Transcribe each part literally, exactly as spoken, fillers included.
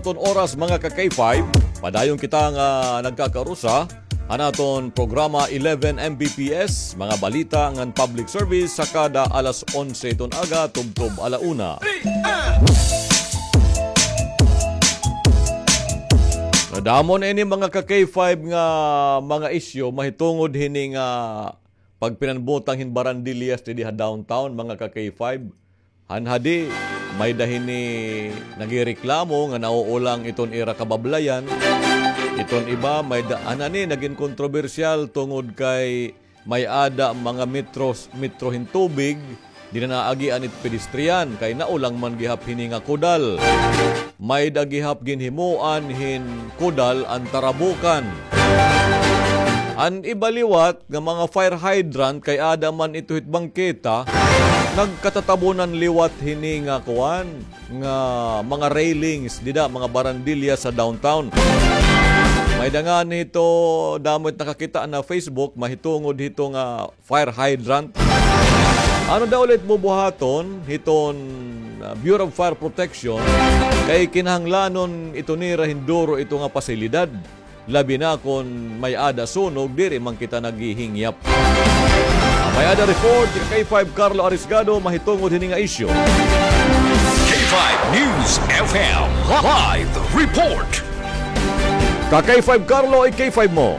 Aton oras, mga ka-K five, padayon kita nga nagkakarusa han aton programa eleven M B P S, mga balita ngan public service sa kada alas onse iton aga tubtob ala una. Nadamo na ini, mga ka-K five, nga mga isyu mahitungod hini nga pagpinanbutang hin barandilyas didi ha downtown, mga ka-K five. Han hadi, may-ada hini nagireklamo nga nauulang iton ira kabablayan. Iton iba, may-ada, han ani, nagin kontrobersyal tungod kay may-ada mga metros, metro hin tubig, diri na naagian it pedestrian, kay naulang man gihap hini nga kudal. May-ada gihap ginhimoan hin kudal an tarabukan. An iba liwat nga mga fire hydrant kay aada man ito hit bangketa, nagkatatabunan liwat hini nga kuan, nga mga railings dida, mga barandilya sa downtown. May-ada ngani hito, damo it nakakita na Facebook, mahitungod hito nga fire hydrant. Ano daw ulit bubuhaton hiton, ah, Bureau of Fire Protection kay kinahanglanon ito nira hinduro ito nga pasilidad, labi na kon may-ada sunog, diri man kita naghihingyap. May-ada report, K five Carlo Arisgado, mahitungod hini nga isyu. K five News F M Live Report. Ka K five Carlo, i-K five mo.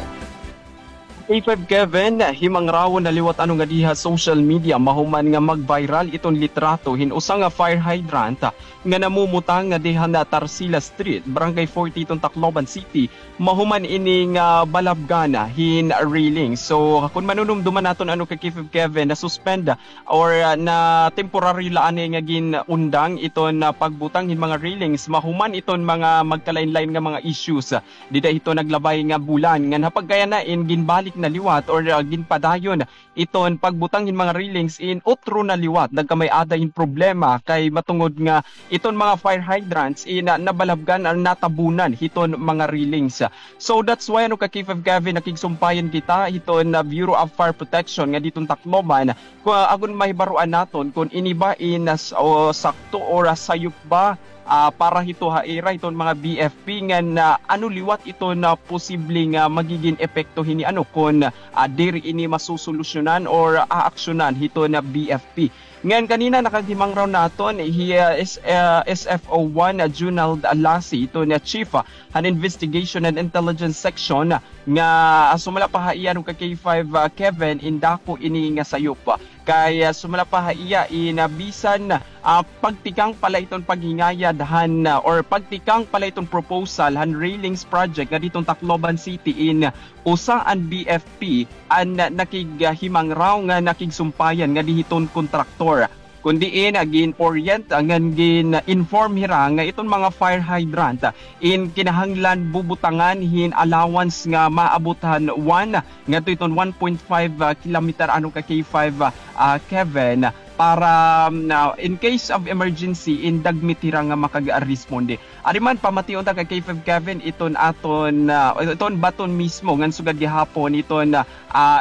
K five Kevin, himangrawon na liwat ano nga diha social media, mahuman nga mag-viral iton litrato hin usa nga fire hydrant nga namumutang nga diha na Tarsila Street, Barangay forty iton Tacloban City, mahuman ini nga balabgan hin railing. So, kun manunumduman naton ano ka K five Kevin, na-suspend or, ah, na temporary la ani nga gin-undang iton, ah, pagbutang hin mga railings, mahuman iton mga magkalain-lain nga mga issues. Dida hito naglabay nga bulan, ngan ha pagkayana in ginbalik na liwat or, ah, ginpadayon iton pagbutang hin mga railings in utro na liwat. Nagkamay-ada hin problema kay matungod nga iton mga fire hydrants in, ah, nabalabgan or natabunan hiton mga railings. So that's why ano ka K five Kevin, nakigsumpayan kita hiton, ah, Bureau of Fire Protection nga diton Tacloban. Kung, ah, agon mahibaroan naton kon ini ba in, ah, s-, o sakto or, ah, sayop ba ah, para hito ha ira hiton mga B F P ngan, ah, ano liwat iton posible nga magigin epekto hini ano kon, ah, diri ini masusolusyonan or aaksyonan hiton B F P. Ngan kanina nakaghimangrawon naton hi, ah, S-, ah, S F O one, ah, Junald Lasi, iton chief, ah, han Investigation and Intelligence Section, ah, nga, ah, sumala pa ha iya ano ka K five, ah, Kevin, in dako ini nga sayop. Kay, ah, sumala pa ha iya in, ah, bisan, ah, pagtikang pa la iton paghingayad han, ah, or pagtikang pa la iton proposal han railings project nga diton Tacloban City in usa an B F P an, ah, nakig-, ah, himangrawon nga nakigsumpayan nga dihiton kontraktor. Kun diin, ah, gin-orient, ah, ngan gin-inform hira nga iton mga fire hydrant, ah, in kinahanglan bubutangan hin allowance nga maabot han one ngadto iton one point five, ah, kilometer ano ka K five, ah, ah, Kevin, para, um, ah, in case of emergency, in dagmit hira nga makag-responde. Ari man, pamation ta ka K five Kevin, iton aton, ah, iton baton mismo ngan sugad gihapon iton, ah,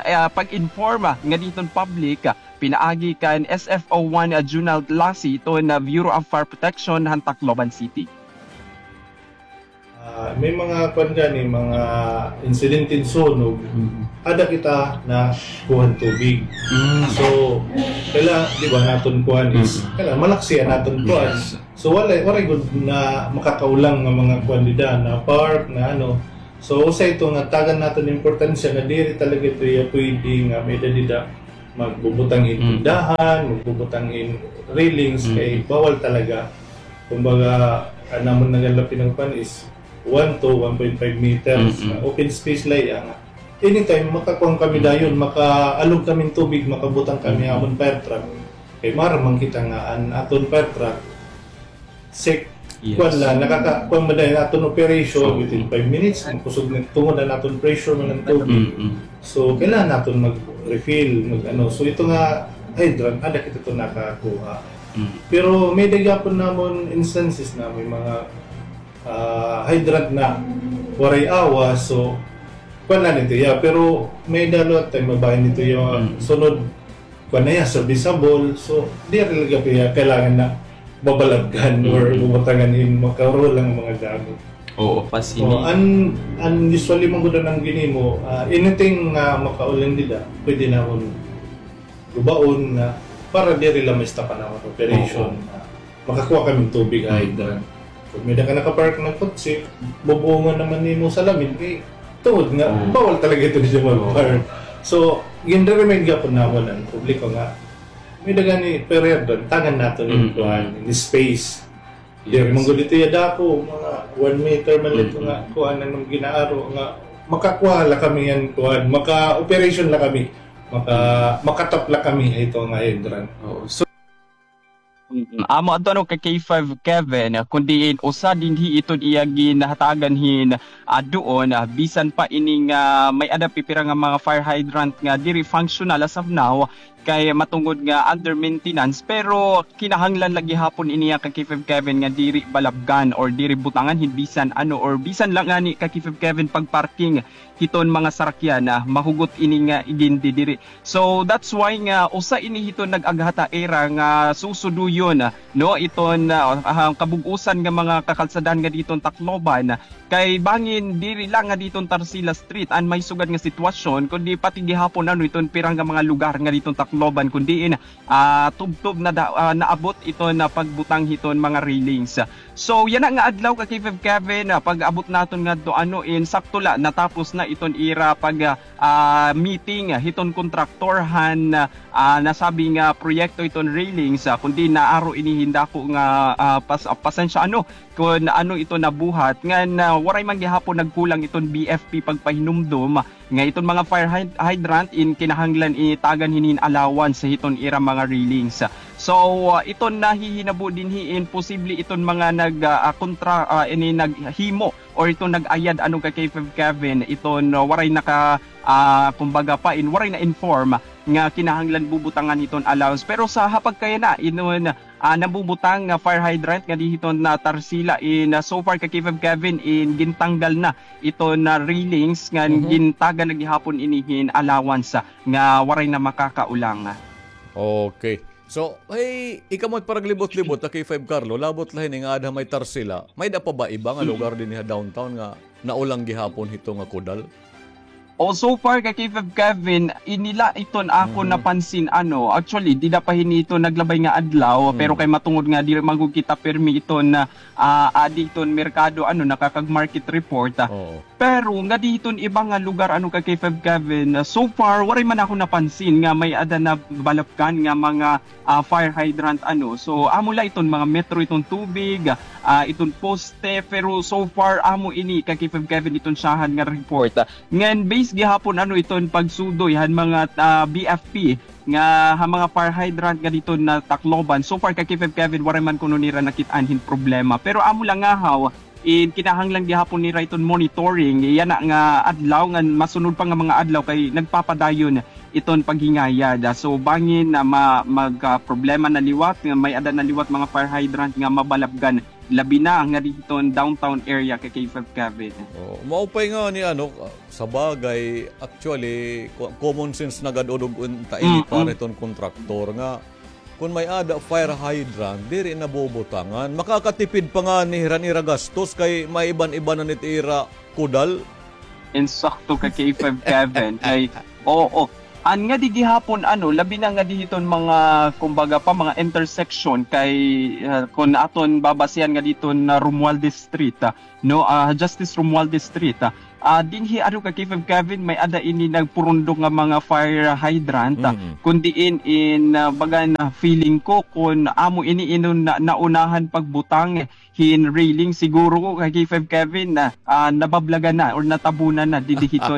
ah, pag-inform, ah, nga diton public, ah, pinaagi kan S F O one, ah, Junald Lasi, iton, ah, Bureau of Fire Protection han Tacloban City. Ah, may mga kuan gani, mga insidente hin sunog. Mm. Ada kita nakuha hin tubig. Mm. So, kaila, di ba, naton kuan is, mm, kaila, malaksi an aton kuan. Yes. So, wala, wala gud na makakaulang nga mga kuan dida, na park, na ano. So, usa ito nga tagan naton importansya nga diri talaga ito iya pwede nga may-ada dida magbubutang hin, mm, tindahan, magbubutang hin railings, mm, kay bawal talaga. Kumbaga, an amon nga lapin nga kuan is one to one point five meters. Mm-mm. Na open space la iya nga. Anytime, makakuan kami dayon, makaalog kami hin tubig, makabutang kami, mm, amon fire truck. Kay maaram man kita nga an aton fire truck, sek-, yes, kuan la, nakaka-, kuan man dayon aton operation, so, within five minutes, makusog na tungod an aton pressure man an tubig. Mm-mm. So, kailangan naton mag-refill, mag-ano. So, ito nga hydrant, ada kita ito nakakuha. Mm. Pero may-ada gihapon namon instances na may mga, ah, hydrant na waray awas. So, kuan na nito, yeah. Pero may-ada liwat time, mabahin nito, yeah. Mm. Sunod, kuan na, iya, serviceable. So, diri talaga kaya kailangan na babalabgan or bubutangan hin makarulang mga gamit. Oo, pasin. Oh, an, an usually man gud an ginhimo, ah, anything nga makaulan dida, pwede namon gubaon nga para diri la ma-stop an amon operation. Oo. Nga makakuha kami hin tubig, hydrant. So, may-ada ka nakapark nga kotse, bubungon naman nimo salamin, kay tungod nga bawal talaga ito dida mag-park. So, gin-remind gihapon namon an publiko nga may-ada gani fire hydrant, tagan naton hin kuan, hin space. Diri man gud ito iya dako, mga one meter man ito nga kuan an gin-aaro nga makakuha la kami hin kuan, maka-operation la kami, maka-, makatap la kami hito nga hydrant. Oo. So, amo adto ano ka K five Kevin, kun diin usa dinhi iton iya ginhatagan hin, ah, duon, ah, bisan pa ini nga may-ada pipira nga mga fire hydrant nga diri functional as of now, kay matungod nga under maintenance, pero kinahanglan la gihapon ini ka K five Kevin nga diri balabgan or diri butangan hin bisan ano or bisan la ngani ka K five Kevin pag-parking hiton mga sarakyan, ah, mahugot ini nga igindidiri. So that's why nga usa ini hiton nag-aghat ha ira nga susuduyon, ah, no, iton, ah, ah, kabug-osan nga mga kakalsadahan nga diton Tacloban, kay bangin diri la nga diton Tarsila Street an may sugad nga sitwasyon, kundi pati gihapon ano iton pira nga mga lugar nga diton Tacloban, kun diin, ah, tubtob na da-, ah, naabot iton pagbutang hiton mga railings. So yana nga adlaw ka K five Kevin, ah, pag-abot naton ngadto ano in sakto la natapos na iton ira pag, ah, ah, meeting, ah, hiton kontraktor han, ah, nasabi nga proyekto iton railings, ah, kun diin naaro ini hin dako nga, ah, pas-, ah, pasensya ano, kun ano ito nabuhat, ngan, ah, waray man gihapon nagkulang iton B F P pagpahinumdom nga iton mga fire hyd-, hydrant in kinahanglan itagan hini hin allowance hiton ira mga railings. So, ah, iton nahihinabo dinhi in posible iton mga nag, ah, ah, kontra, ah, ini naghimo or iton nag-ayad ano ka K five Kevin, iton, ah, waray naka, ah, kumbaga pa in waray na-inform nga kinahanglan bubutangan hiton allowance. Pero sa hapag kay yana, iton, ah, nabubutang nga fire hydrant nga dihiton na Tarsila in, ah, so far ka K five Kevin in gintanggal na iton na railings ngan gintagan na gihapon ini hin allowance, ah, nga waray na makakaulang. Okay. So, ay, ikaw mo paraglibot-libot, ka K five Carlo, labot la hini nga aada ha may Tarsila. May-ada pa ba iba nga lugar dinhi ha downtown nga naulang gihapon hito nga kudal? O, so far, ka K five Kevin, ini la iton akon napansin, ano, actually, dida pa hini ito naglabay nga adlaw, pero kay matungod nga diri man gud kita pirmi iton, ah, ah, adi iton merkado, ano, nakakag-market report, ah. Oo. Pero nga dihiton iba nga lugar, ano, ka K five Kevin, ah, so far, waray man ako napansin nga may-ada nabalabgan nga mga, ah, fire hydrant, ano. So, amo la iton mga metro iton tubig, ah, iton poste, pero so far, amo ini ka K five Kevin iton syahan nga report. Ngan base gihapon, ano, iton pagsudoy han mga, ah, B F P nga ha mga fire hydrant nga diton na Tacloban. So far, ka K five Kevin, waray man kuno nira nakit-an hin problema. Pero amo la ngahaw, in kinahanglan gihapon nira iton monitoring yana nga adlaw ngan masunod pa nga mga adlaw kay nagpapadayon iton paghingayad. So bangin na ma-, mag, ah, problema na liwat nga may-ada na liwat mga fire hydrant nga mabalabgan, labi na nga dihiton downtown area, ka K five Kevin. Oh, maupay nga ni ano, ah, sa bagay, actually, co-, common sense na gad udog unta ini para iton kontraktor nga kun may-ada fire hydrant, diri nabubutangan. Makakatipid pa ngani hira han ira gastos kay maiban-ibanan it ira kudal. Insakto ka K five Kevin. Kay, oo. An nga di gihapon, ano, labi na nga dihiton mga, kumbaga pa, mga intersection kay, ah, kun aton babasihan nga diton na Romualdez Street, ah, no, ah, Justice Romualdez Street, ah, ah, dinhi, ano ka, K five Kevin, may-ada ini nagpurundok nga mga fire hydrant, ah, kun diin in, ah, baga na feeling ko kun amo ini inon na, naunahan pagbutang hin railing, siguro ko, ka K five Kevin, na, ah, nabablagan na or natabunan na didi hiton